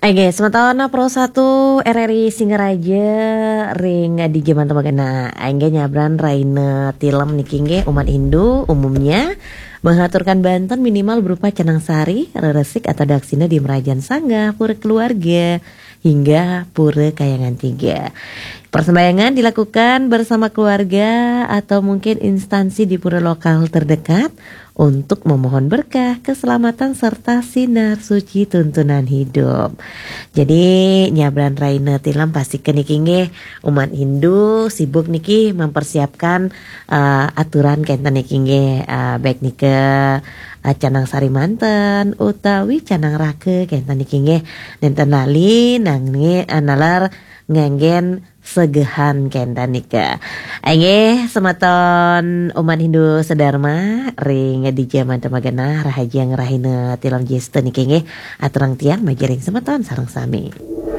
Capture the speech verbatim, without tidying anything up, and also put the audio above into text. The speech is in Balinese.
Oke, semeton Pro satu R R I Singaraja ring di jaman temagana. Engge nyabran raina tilem niki nggih umat Hindu umumnya mengaturkan banten minimal berupa canang sari, reresik atau daksina di merajan sanggah, pura keluarga, hingga pura kayangan tiga. Persembahyangan dilakukan bersama keluarga atau mungkin instansi di pura lokal terdekat untuk memohon berkah, keselamatan serta sinar suci tuntunan hidup. Jadi nyabran raina tilem pasti ke niki nggih umat Hindu sibuk niki mempersiapkan uh, aturan kenten niki nggih uh, baik nika uh, canang sari manten utawi canang raka kenten niki nggih nenten lali nangge uh, nalar nganggen segehan kenten nika. Inggih semeton umat Hindu sedharma ring di jaman temagana rahajeng rahina tilem jesta niki nggih aturang tiang majiring semeton sareng sami.